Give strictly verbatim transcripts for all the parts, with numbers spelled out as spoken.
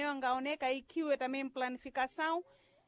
Angaoneka ikiwe também planificação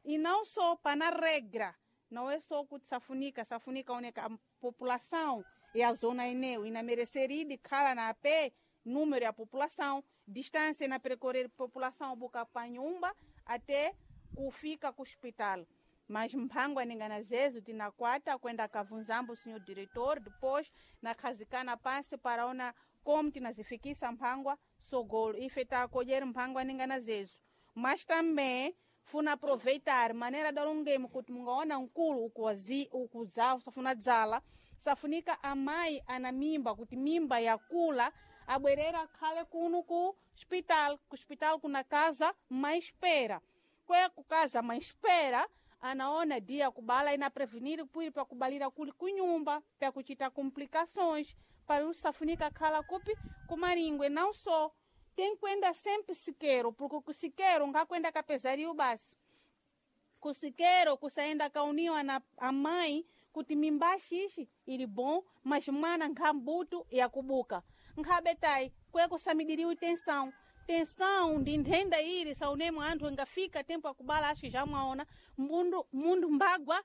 e não só para na regra, não é só que safunica, safunica oneka a população e a zona eneu e na merecer de cara na pé número e a população, distância na percorrer população buca panhumba até kufika ku hospital. Mas mphangwa ningana zezo tinakwata kwenda kavunzambo senhor diretor, depois nakhazikana pansi para ona como tinazifikisa mphangwa sogolo ife takodyera mphangwa ningana zezo. Mas também funa aproveitar maneira dalongemo kuti mungaona nkulu ukuwazi ukuzawo safuna dzala safunika amayi ana mimba kuti mimba yakula abwerera khale kuno ku hospital, ku hospital kuna casa mais espera kwe kukaza mais espera anaona dia kubala ina prevenir pwiri pakubalira kuli kunyumba pakuchita complicações para usafunika khala kupi kumaringwe. Não só tem kwenda sempre siqueiro, porque ku siqueiro ngakwenda kapezario basi ku siqueiro kusaenda kauniwa na amai kuti mimbashi ishi ili bom, mas mwana nkhambutu yakubuka nkhabetai kwe kusamidiriwe tensão tensão ndi nthenda ili saunemo anthu ingafika tempo akubala acho já mwaona mundu, mundu mbagwa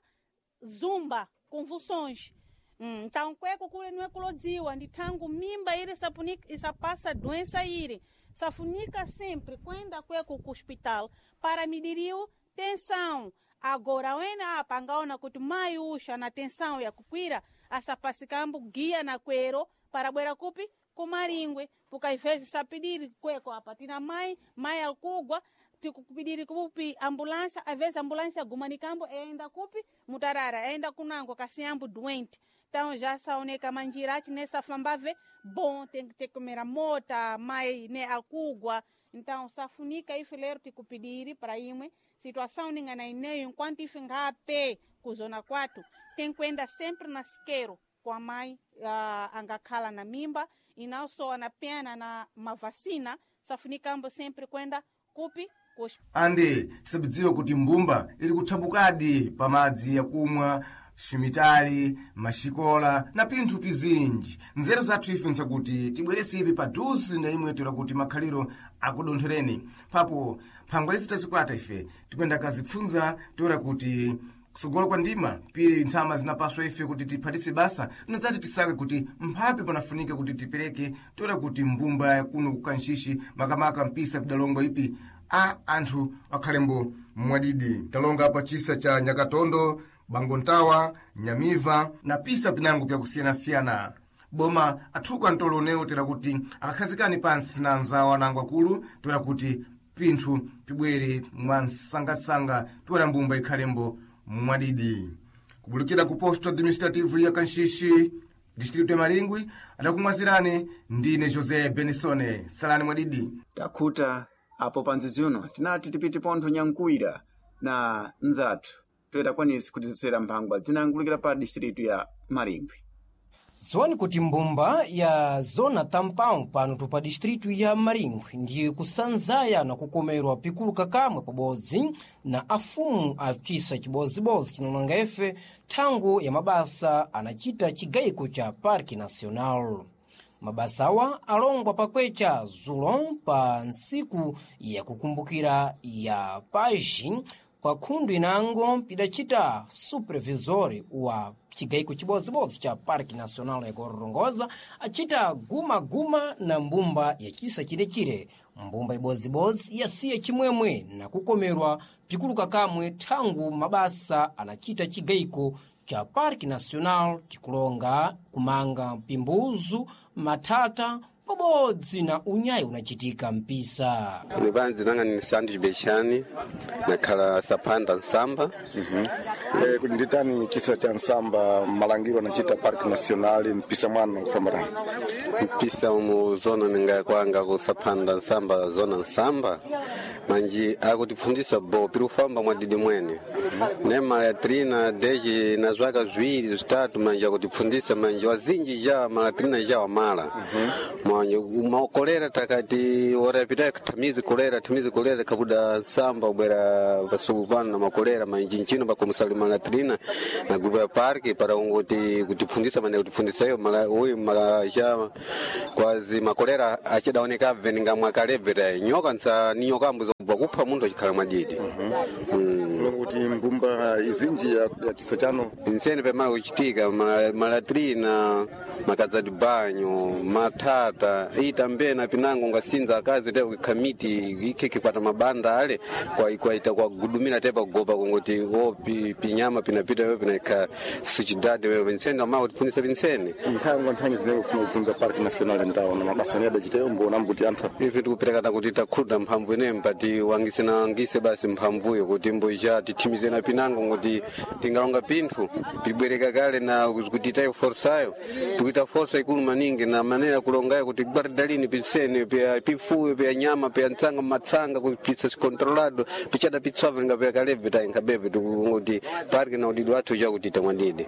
zumba convulsões. Hum, então kweko kule niwe kulodziwa ndi thangu mimba ili sapunika isapassa doença ili safunika sempre kwenda kweko ku hospital para mediriu tensão. Agora wena apa angaona kuti mai usha na tensão yakukwira asapasikambo guia na kwero para bwera kupi kumaringwe porque às vezes sapidiri kweko apa tina mai mai alkugwa tikupidiri kupi ambulância, às vezes ambulância gumanikambo enda kupi mutarara enda kunango kasiyambo doente. Então já saoneka manjira achi nessa fambave bom tem que ter comer mota mai ne alkugwa. Então safunika ife lero tikupidiri para imwe situação ningana ineyo enquanto ife ngape kuzona kwatu tem kwenda sempre na siqueiro com a mãe uh, angakhala na mimba e não só na pena na mavacina safunikambo sempre kwenda kupi kus Ande tisabidziwe kuti mbumba ili kuthabukadi pamadzi yakumwa ximitali maxikola na pinthu pizinji. Nzeru zathu ife nsakuti tibweretse ipi paduze na imwe toera kuti makhaliro akudonthereni papo phangwa izi tazikwata ife tikuyenda kazipfunza toera kuti kusogolo kwa ndima pili ntsama zinapaswa ife kuti tiphatise basa tinadzati tisake kuti mphapi panafunika kuti tipereke toera kuti mbumba yakuno kukanxixi makamaka mpisa pidalongo ipi a anthu akhalembo mwadidi. Talonga pa chisa cha Nyakatondo, Bangontawa, Nyamiva na pisa pinango pyakusiyanasiyana. Boma athuka mtolo unewu tera kuti akakhazikani pansi na anzawo anango akulu toera kuti pinthu pibwere mwansangasanga toera mbumba ikhalembo mwadidi. Kubulukira ku posto administrativo ya Kanxixi, distrito ya Maringwi, adakumwazirani ndine José Benisone. Salani mwadidi. Takhuta apo panzizi uno tinati tipite pontho nyankuwira na nzathu toyera kwanisi kutizipsera mphangwa zinangulukira pa distritu ya Maringwi. Dziwani kuti mbumba ya zona tampão pano tupa distritu ya Maringwe ndiye kusanzaya na kukomerwa pikulu kakamwe pabodzi na afumu acisa cibozibozi cinalanga efe thangu ya mabasa anacita cigayiko ca Parque Nacional. Mabasa awa alongwa pakwecha zulo pa ntsiku yakukumbukira ya paji kwa khundu inango pidacita supervisor wa cigayiko cibodzibodzi ca Parque Nacional ya Gorongosa acita gumaguma na mbumba ya cisa cilecire. Mbumba ibodzibodzi yasiya chimwemwe na kukomerwa pikulu kakamwe thangu mabasa anacita cigayiko cha Parque Nacional tikulonga kumanga pimbuzu matata pabodzi na unyayi unacitika mpisa. Ine banzi nanga ni Sandu Bechani nakhala sapanda nsamba. Eh, kuti nditani chisa cha nsamba malangiro anachita Parque Nacional mpisa mwana kufambarani mpisa umu zona ninga kwanga kusapanda nsamba zona nsamba manji akutipfundisa bo piri kufamba mwadidi mwene ne malatrina deji na zwaka zwiwiri zvitatu manje akutipfundisa manje wazinji ja malatrina ja wamala manje makolera takati orapita tamizi kolera tamizi kolera kabuda nsamba ubwera pasuku pano na makolera manje nchino pakomusali malatrina na grupu ya parki para ungoti kutipfundisa manje kutipfundisa iyo mala uyu mala ja kwazi makolera achidaoneka veninga mwakalebvera nyoka nsa ni nyoka ambuzo kugopa kupha munthu achikhala mwadidi Mm. Kulonga kuti mbumba izinji ya, ya chisa chano Pinsene pamala kuchitika mala- malatrina makadzati banyo matata itambena pinango ngasinza akazi te khamiti ikhekhe kwata mabanda ale kwa kwaita kwagudumira te pakugopa kungoti o pi- pinyama pinapita yo pinaikha sichidadi wewe pinsene amala kutipfunisa pinsene nthango nthanyi zine kufuna kupfunza park national ndawo na mabasa ni adachiteyo mbona mbuti anthu ife tikuperekata kuti takhuta mphamvu ineyo mpati wangise na wangise basi mphamvuyo kuti mboja tithimize na pinango ngoti tingalonga pinthu pibwereka kale na kuti itayo forsayo tikuita forsa ikulu maningi na manera kulongayo kuti guardalini pinsene pya pifuyo pya nyama pya ntsanga matsanga kupisa sicontrolado pichada pitswavo linga kaleve tayinkhabeve tikungoti parke na udidi wathu chakuti tamwadidi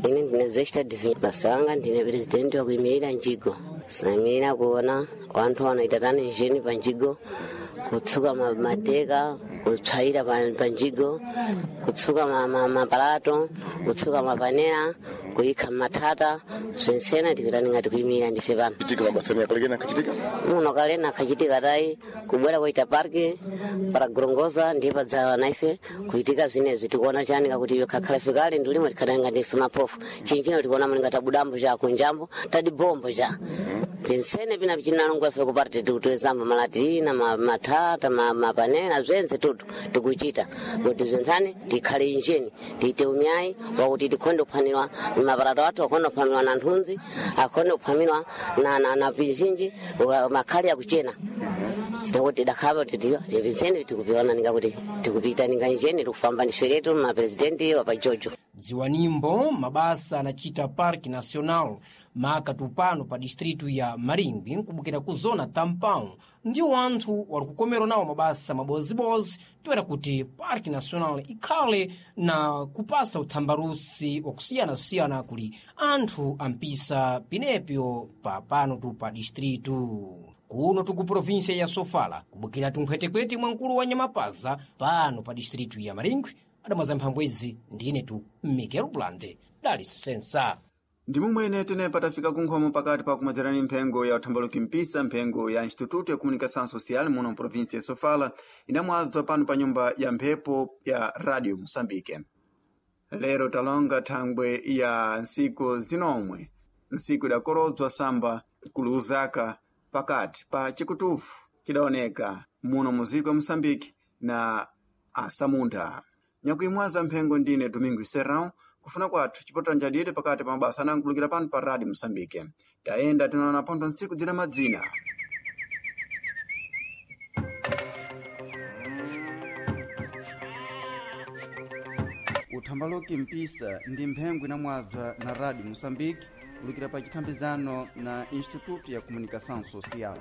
Ine ndine Zesta Divine Basanga, ndine presidenti wakuyimirira njigo. Sayimirira kuona wanthu wanoita tani njeni pa njigo, kutsuka ma- mateka, kutsvaira pa pa njigo, kutsuka ma- ma- mapalato, kutsuka mapanera, kuyikha mathata, zwentsena tikutani ngati kuyimirira ndife pano. chitika mabasa ni akalekena kachitika Muno kalena kachitika tayi kubwera kuita parki para gorongoza ndiye padzawa naife kuitika zvinezvi tikuona chani kakuti iwe kakhala fikale ndilimo tikhatani ngati ife maphofu chinchino tikuona muni ngati tabudambo cha kunjambo tadibombo cha pinsene pina pichinalongo ife kuparti tikutwezamba malatina ma- mathata ma- mapanera zwense tutu tikuchita kuti zwentsani tikhale injeni tiite umyayi wakuti tikhonde kuphanirwa maparato athu akhonde kuphamirwa na nthunzi akhonde kuphamirwa na, na, na pizhinji uka- makhali akuchena sinakuti dakhapa tipintseni tikupiona ningakuti tikupita ninga njeni tikufamba ni shweretu mapresidenti wapajojo Dziwanimbo mabasa anachita Parque Nacional maka tupano pa distritu ya Maringwi nkubukira ku zona Tampão ndiwo anthu wali kukomerwa nawo mabasa mabozibozi toera kuti Parque Nacional ikhale na kupasa uthambarusi wakusiyanasiyana kuli anthu ampisa pinepyo pa pano tu pa distritu kuno tuku província ya Sofala kubukira tunkhwetekwete mwa mkulu wa Nyamapaza pano pa distritu ya Maringwi adamwaza mphamvu izi ndine tu Miguel Blande dali sensa Ndi momwene tenepa tafika kunkhomo pakati pa kumwedzerani mphengo ya uthambaluki mpisa mphengo ya Instituto ya Comunicação Social muno mprovinsia ya Sofala inamwadzwa pano pa nyumba ya mphepo ya Radio Moçambique. Lero talonga thangwe ya ntsiku zinomwe ntsiku idakorodzwa samba kuluuzaka pakati pa chikutufu chidaoneka muno muziko ya Moçambique na asamunda nyakuimwaza mphengo ndine Domingo Serrão kufuna kwathu chipotera njadidi pakati pa mabasa anankhulukira pano pa Radio Moçambique tayenda tinaona pontho ntsiku zina madzina uthambaloki mpisa ndi mphengo inamwadzwa na Radio Moçambique kulukira pa chithambizano na Instituto ya Comunicação Social.